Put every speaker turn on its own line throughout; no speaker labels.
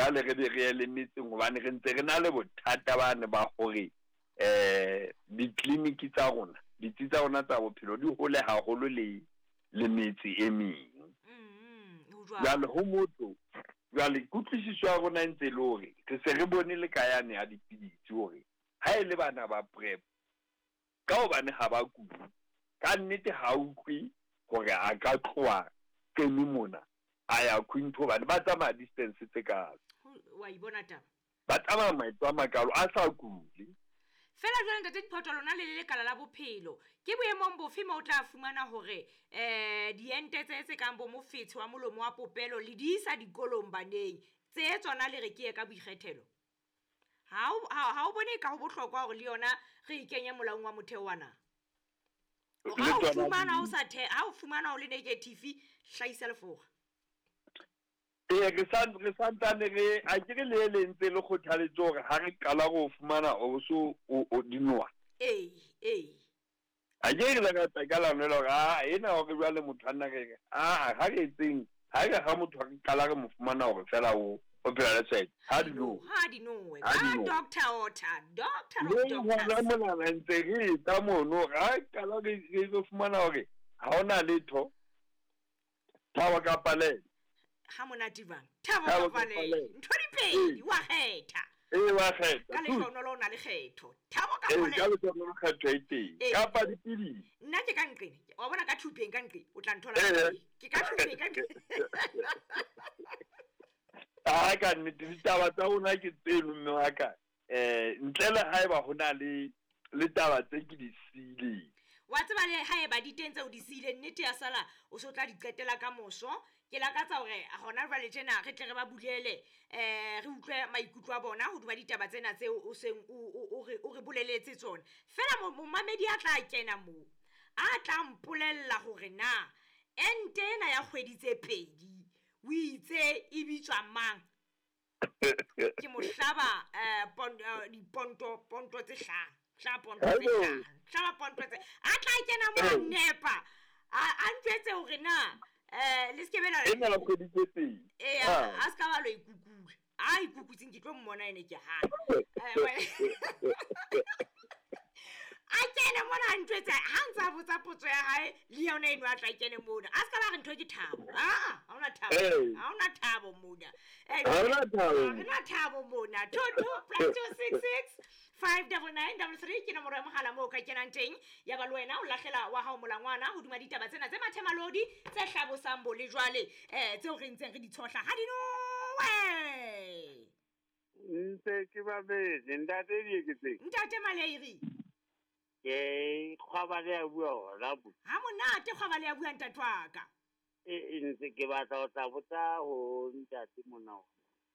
Jwale re be re ye le metseng hobane re ntse re na le bothata bane ba hore ditleliniki tsa rona, ditsi tsa rona tsa bophelo di hole haholo le le metse e meng. Jwale ho motho, jwale kutlwisiso ya rona e ntse e le hore re se re bone le ka yane ya dipidisi hore ha e le bana ba PrEP, ka hobane ha ba kule, ka nnete ha utlwe hore a ka tloha Qeme mona a ya Quinto hobane ba tsamaya distance tse kalo.
Wa ibona taba.
Ba tsamaya maeto a makalo a sa kule.
Fela jwale ntate Diphoto lona le le lekala la bophelo, ke boemong bofe mo o tla fumana hore diente tse tse kang bo mofetshe wa molomo wa popelo le di isa dikolong baneng, tse tsona le re ke ye ka boikgethelo? Ha o bone ka ho bohlokwa hore le yona re e kenye molaong wa motheo wa na? Ha o fumana o sa the, ha o fumana o le negative, hlahisa lefora.
Ee, re sa re santsane re a ke re le le ntse le kgothaletse hore ha re qala go fumana o so o dinoa.
Ee, ee.
A ke re la ka ka la nwela hore a ena hore jwale motho a nna re a ha re etseng ha re ha motho re qala re mo fumana hore fela o o phela le tshwaetso ha di nowe,
ha di nowe ka doctor Ota, doctor of doctors.
Le hona mona ntse re etsa mono ha qala re re fumana hore ha hona letho. Thabo kapa lele.
Ha monate jwang? Thabo kapa lele. Ntho di pedi wa kgetha.
Ee wa kgetha.
Ka lehlohonolo o na le kgetho. Thabo kapa lele.
Ka lehlohonolo kgetho e teng. Kapa dipidisi.
Nna ke ka nqene. Wa bona ka thupeng ka nqe o tla nthola. Ke ka thupeng ka nqe.
Ah ka nnete ditaba tsa rona ke tseno mme wa ka. Ntle le haeba ho na le le taba tse ke di siileng.
Wa tseba le haeba di teng tseo di siileng, nnete ya sala o so tla di qetela ka moso. Ke lakatsa hore hona jwale tjena re tle re ba bulele re utlwe maikutlo a bona hodima ditaba tsena tseo o seng o re boleletse tsona. Fela momamedi a tla kena moo a tla mpolella hore na ente ena ya kgwedi tse pedi o itse e bitswa mang. Ke mohlaba diponto ponto tse hlano. Hlaba ponto tse hlano. Hlaba ponto tse. A tla kena mo a nepa. A ntjwetse hore na le se ke be la
ena la kgwedi tse pedi.
Ee, a se ka ba lo ikukula. A ikukutseng ke tlo mmona ene ke hana. A kene mona a ntjwetse ha ntse a botsa potso ya hae le yona eno a tla kene mona. A se ka ba re ntho ke thabo. Ha hona thabo. Ha hona thabo mona.
Ha hona thabo.
Ha hona thabo mona. 22 +266 59933 ke nomoro ya mohala moo ka kenang teng. Ya ba le wena o lahlela wa hao molangwana hodima ditaba tsena tse mathemalodi tse hlabosang bo le jwale tseo re ntseng re di tshohla ha di nowe.
Ntse ke babedi ntate Dieketseng.
Ntate Maleiri.
Ke kgwaba le ya bua hona bo.
Ha monate kgwaba le ya bua ntate wa ka.
E ntse ke batla ho tla botsa ho ntate mona.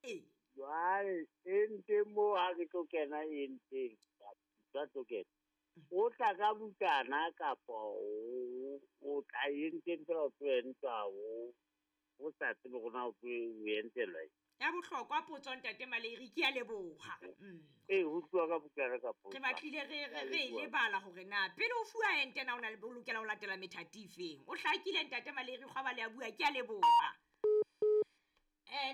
Ee.
Jwale ente mo ha ke tlo kena enteng, ka tlo kena. O tla ka bukana kapa o tla enteng fela o tlo entwa o sa tsebe hore na o tlo entelwa.
Ya bohlokwa potso ntate Maleiri, ke a leboha.
Ee, ho tluwa ka bukana kapa
re batlile re lebala hore na pele o fuwa ente na o na le lokela ho latela methati efeng. O hlakile ntate Maleiri, kgwaba le a bua, ke a leboha.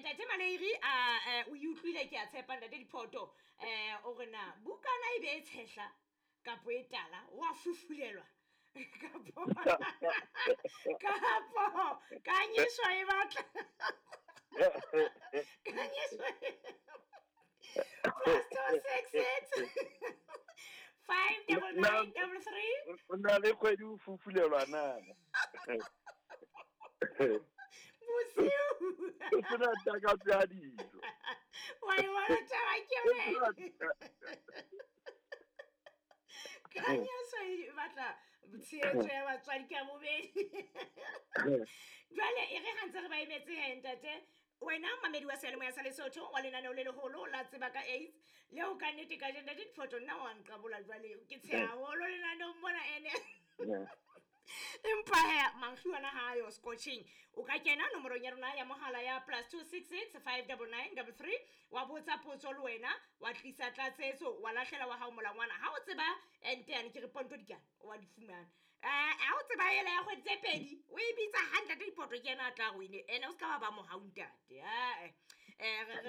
Ntate Maleiri a o utlwile ke a tshepa ntate Diphoto o re na bukana e be e tshehla kapo e tala wa fufulelwa kapo kapo kanyiswa e batla kanyiswa +266 59933
o na le kgwedi o fufulelwa na
bosiu
o sena takatso ya dijo
wa e bona taba ke wena. Kanyiswa e batla tshehetso ya batswadi ka bobedi. Jwale e re ha ntse re ba emetse he ntate, wena mamedi wa seyalemoya sa Lesotho wa lenaneo le leholo la tseba ka AIDS leo ka nnete ka ntate Diphoto nna wa nqabola jwale ke tsheha haholo lenaneong mona ene. Empa he mankgi ona ha yo scotching o ka kena nomorong ya rona ya mohala ya +266 59933 wa botsa potso le wena wa tlisa tlatsetso wa lahlela wa hao molangwana. Ha o tseba ente yane ke re ponto dikana wa di fumana. Ha o tseba ela ya kgwedi tse pedi o e bitsa hantle ntate Diphoto ke yena a tla go ene ene o se ka ba ba mohau ntate.